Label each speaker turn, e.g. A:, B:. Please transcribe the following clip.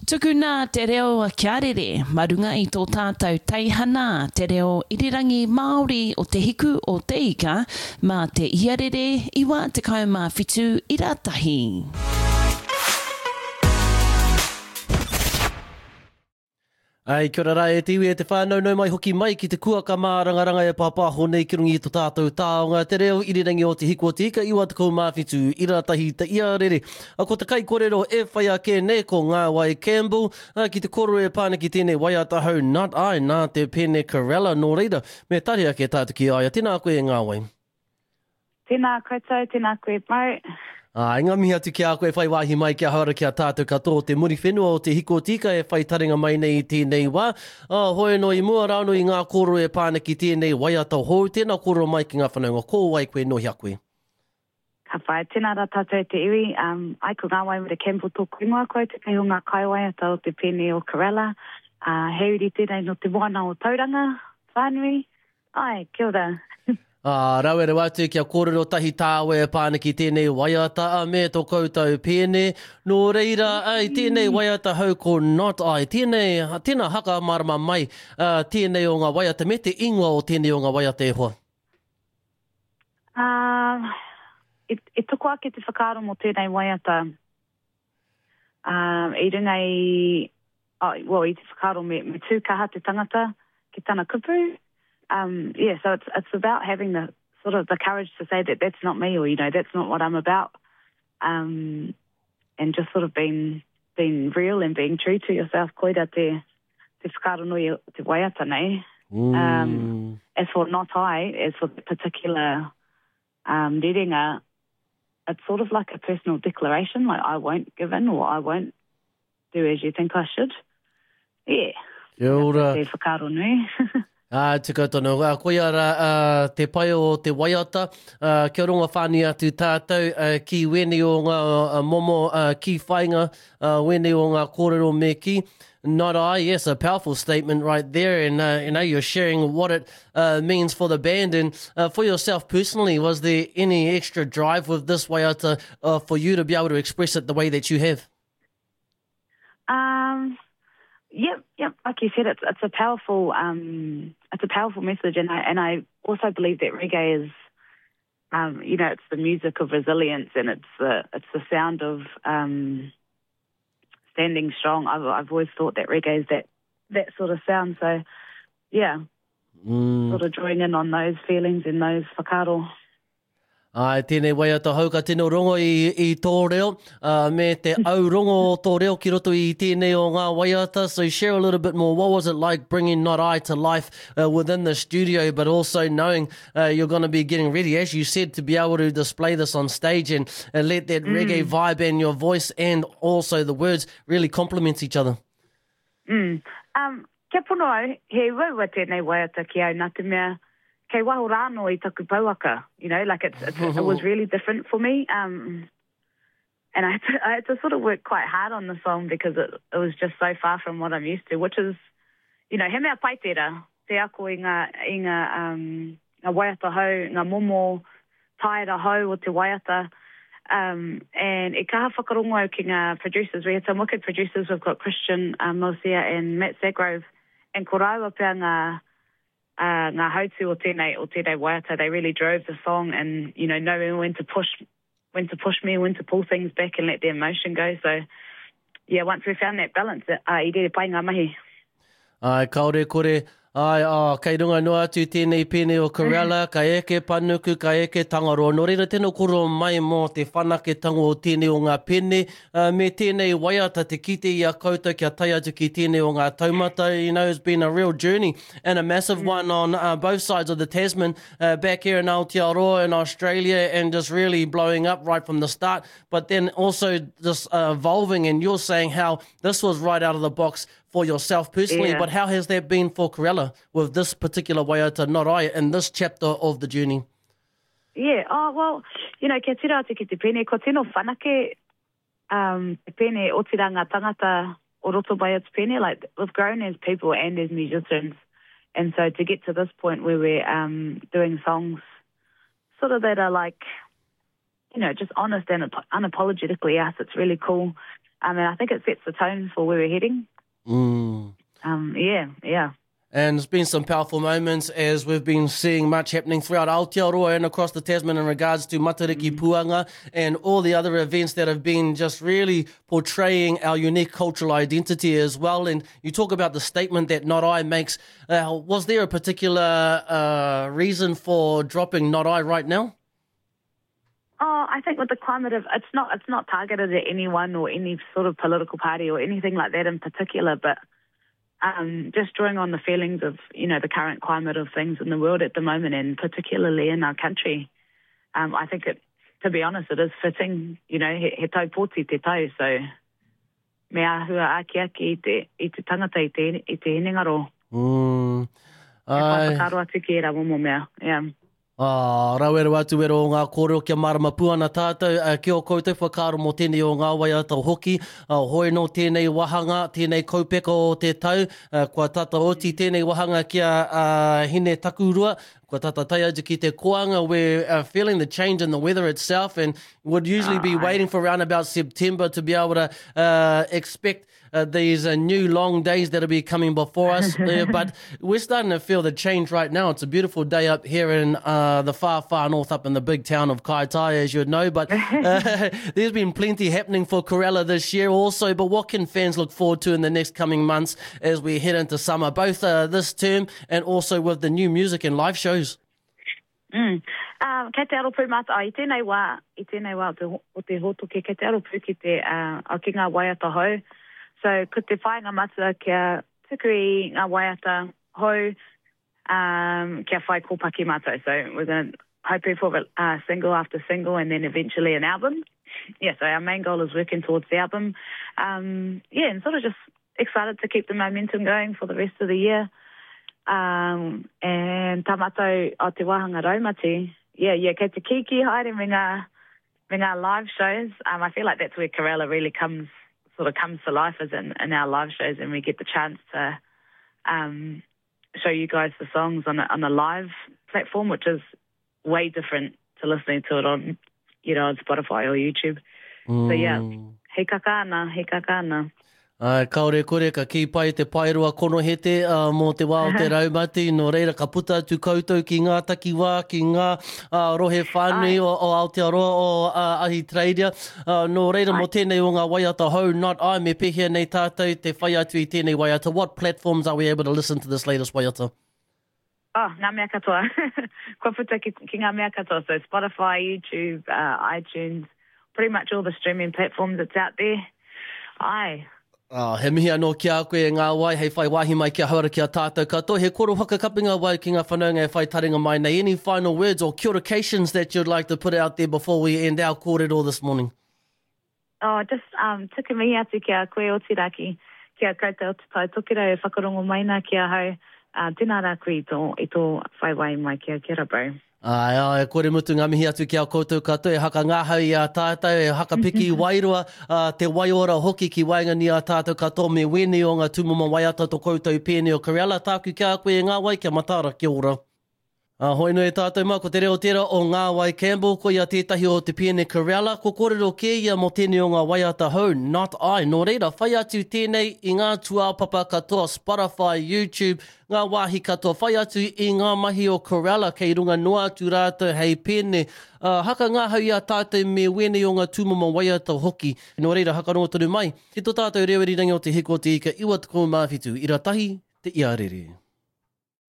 A: Tukuna te reo kia rere ma runga i tō tātou teihana te reo irirangi Māori o Te Hiku o Te Ika mā te iarere 97 ira tahi.
B: Ai, kia ora rā e te iwi e te whānau, nau mai hoki mai ki te kuaka mārangaranga e pāpāho nei ki runga i to tātou taonga, te reo irirangi o Te Hiku o Te Ika, 97 ira tahi te iarere. A ko te kaikorero e whai ake nei ko Ngāwai Campbell, a, ki te koro e pā ana ki tēnei waiata hou Not I nā te Pene Corella, nō reira, me tari ake tātou ki a ia. Tēnā koe e Ngāwai.
C: Tēnā koutou, tēnā koe Mo.
B: Āe, ngā mihi atu ki a koe whai wāhi mai kia hara ki a tātou katoa o te Muriwhenua o Te Hiko Tika e whai taringa mai nei i tēnei wā. Ā, hoi anō i mua rānō i ngā kōrero e pā ana ki tēnei waiata hou, tēnā kōrero mai ki ngā whanaunga, ko wai koe, nō hea koe?
C: Ka whai, tēnā rā tātou e te iwi, um, ai ko Ngāwai Mere Campbell tōku ingoa, ko au tētahi o ngā kaiwaiata o te pēne o Corella, ā, he uri tēnei nō te moana o Tauranga whānui, Āe, kia ora.
B: Ā, rawe rawa atu kia kōrero tahi tāua e pā ana ki tēnei waiata a me tō koutou pēne. Nō reira, ā, i tēnei waiata hou ko Not I, tēnei, tēnā haka mārama mai, ā, tēnei o ngā waiata me te ingoa o tēnei o ngā waiata e hoa.
C: Ā, e, e toko ake te whakaaro mō tēnei waiata, ā, i runga i, oh, well, i te whakaaro me, me tū kaha te tangata ki tana kupu. Um, yeah, so it's, it's about having the sort of the courage to say that that's not me or, you know, that's not what I'm about. Um, and just sort of being, being real and being true to yourself. Koira te, te whakaaro nui o te waiata nei. Mm. Um, as for not I, as for the particular um, rerenga, it's sort of like a personal declaration, like I won't give in or I won't do as you think I should. Yeah.
B: Kia ora.
C: Te whakaaro nui.
B: Ā, tika tonu. Ā, koia rā ā, te pai o te waiata, ā, kia rongo whānui atu tātou ā, ki wēnei o ngā ā, momo ā, kī whainga, ā, wēnei o ngā kōrero me kī. Not I, yes, a powerful statement right there, and uh, you know, you're sharing what it uh, means for the band and uh, for yourself personally. Was there any extra drive with this waiata uh, for you to be able to express it the way that you have?
C: Um, yep, yep. Like you said, it's it's a powerful um, it's a powerful message, and I and I also believe that reggae is, um, you know, it's the music of resilience, and it's the it's the sound of um, standing strong. I've I've always thought that reggae is that that sort of sound. So, yeah, mm. sort of drawing in on those feelings and those whakaaro.
B: Āe, tēnei waiata hou ka tino rongo i, i tō reo, uh, me te au rongo o tō reo ki roto i tēnei o ngā waiata. So share a little bit more, what was it like bringing Not I to life uh, within the studio, but also knowing uh, you're going to be getting ready, as you said, to be able to display this on stage and, and let that mm. reggae vibe and your voice and also the words really complement each other.
C: Mm. Um, kia pono au, he uaua tēnei waiata ki au nā te mea kei waho rānō i taku pouaka, you know, like it's, it's, it was really different for me. Um, and I had, to, I had to sort of work quite hard on the song because it, it was just so far from what I'm used to, which is, you know, he mea pai tērā, te ako i ngā, i ngā, um, ngā waiata hou, ngā momo taera hou o te waiata. Um, and e kaha whakarongo au ki ngā producers. We had some wicked producers. We've got Christian um, Mosia and Matt Sagrove. And ko rāua pea ngā, uh, ngā hautū o tēnei, o tēnei waiata. They really drove the song and, you know, knowing when to push, when to push me, when to pull things back and let the emotion go. So, yeah, once we found that balance, uh, i rere pai ngā mahi.
B: Āe, kāore kore, āe, ā, kei runga noa atu tēnei pēne o Corella, ka eke panuku, ka eke Tangaroa. Nō reira, tēnā kōrero mai mō te whanaketanga o tēnei o ngā pēne, ā, me tēnei waiata te kite i a koutou kia tae atu ki tēnei o ngā taumata, you know, it's been a real journey and a massive one on uh, both sides of the Tasman, uh, back here in Aotearoa and Australia, and just really blowing up right from the start, but then also just uh, evolving, and you're saying how this was right out of the box for yourself personally, yeah. but how has that been for Corella with this particular waiata, Not I, in this chapter of the journey?
C: Yeah, oh, well, you know, kia tira atu ki te pene, ko tino whanake um, te pene, otirā ngā tangata o roto mai o te pene, like, we've grown as people and as musicians, and so to get to this point where we're um, doing songs sort of that are like, you know, just honest and unapologetically us, it's really cool. Um, and I think it sets the tone for where we're heading.
B: Mm.
C: Um, yeah, yeah.
B: And there's been some powerful moments as we've been seeing much happening throughout Aotearoa and across the Tasman in regards to Matariki Puanga and all the other events that have been just really portraying our unique cultural identity as well. And you talk about the statement that Not I makes. Uh, was there a particular uh, reason for dropping Not I right now?
C: Oh, I think with the climate of it's not it's not targeted at anyone or any sort of political party or anything like that in particular, but um, just drawing on the feelings of you know the current climate of things in the world at the moment, and particularly in our country. Um, I think it, to be honest, it is fitting. You know, he, he tau pōti te tau, so me āhua akiaki i te, i te tangata, i te, i te hinengaro.
B: Mm.
C: E whai whakaaro atu ki ērā momo mea, yeah.
B: Ā, rawe rawa atu wero o ngā kōrero kia mārama pū ana tātou ki ō koutou whakaaro mō tēnei o ngā waiata hoki. Hoi nō tēnei wāhanga, tēnei kaupeka o te tau, kua tata oti tēnei wāhanga ki a Hine Takurua, kua tata tae atu ki te koanga, we're feeling the change in the weather itself and would usually be waiting for around about September to be able to uh, expect uh, these uh, new long days that'll be coming before us. uh, but we're starting to feel the change right now. It's a beautiful day up here in uh, the far, far north, up in the big town of Kaitai, as you'd know. But uh, there's been plenty happening for Corella this year also. But what can fans look forward to in the next coming months as we head into summer, both uh, this term and also with the new music and live shows?
C: Mm. Um, kei te aro pū mātou, i tēnei wā, i tēnei wā o te, o te hōtoke, kei te aro pū ki te, uh, ki ngā waiata hou. So, ko te whāinga matua kia tuku i ngā waiata hou, um, kia whai kōpaki mātou. So, we're going to hoping for uh, single after single and then eventually an album. Yeah, so our main goal is working towards the album. Um, yeah, and sort of just excited to keep the momentum going for the rest of the year. Um, and tā mātou o te wāhanga raumati, yeah, yeah, kei te kīkī haere me ngā, me ngā live shows. Um, I feel like that's where Corella really comes, sort of comes to life is in, in our live shows and we get the chance to um, show you guys the songs on a, on a live platform, which is way different to listening to it on, you know, on Spotify or YouTube. Mm. So yeah, he kaka ana, he kaka ana.
B: Ai, kaore kore ka kī pai te paeroa konohete uh, mō te wā o te raumati, nō reira ka puta atu koutou ki ngā takiwā, ki ngā uh, rohe whānui o, o Aotearoa, o uh, Ahitereiria. Uh, nō reira mō tēnei o ngā waiata hou, not I, me pēhea nei tātou te whai atu i tēnei waiata. What platforms are we able to listen to this latest waiata?
C: Oh, ngā mea katoa. Kua puta ki, ki ngā mea katoa. So Spotify, YouTube, uh, iTunes, pretty much all the streaming platforms that's out there. Ai.
B: Oh, he mihi anō ki a koe e ngā wai hei whai wāhi mai ki a Hauora ki a tātou katoa. He koro whakakapinga wau ki ngā whanaunga e whai taringa mai nei. Any final words or kia oracations that you'd like to put out there before we end our kōrero this morning?
C: Oh, just um, tuku mihi atu ki a koe otirā ki, ki a koutou o Te Tai Tokerau e whakarongo mai nā ki ahau. Uh, tēnā rā koe i tō, i tō whai wāhi mai ki a Kia ora bro.
B: Āe, āe, kore mutu ngā mihi atu ki a koutou katoa e hakangahau i a tātou, e hakapiki wairua, ā, te waiora hoki ki waenganui i a tātou katoa me wēnei o ngā tūmomo waiata to koutou pēne o Corella, tāku ki a koe e ngā wai kia mataara, kia ora. Ā, hoi nui tātou mā, ko te reo tērā o Ngāwai Campbell, ko ia tētahi o te pēne Corella, ko kōrero kē ia mō tēnei o ngā waiata hou, Not I. Nō reira, whai atu tēnei i ngā tūāpapa katoa, Spotify, YouTube, ngā wāhi katoa, whai atu i ngā mahi o Corella kei runga noa atu rātou hei pēne. Ā, haka ngahau i a tātou me wēnei o ngā tūmomo waiata hoki. Nō reira, hakarongo tonu mai ki tō tātou reo irirangi o Te Hiku o Te Ika 97, ira tahi, te iarere.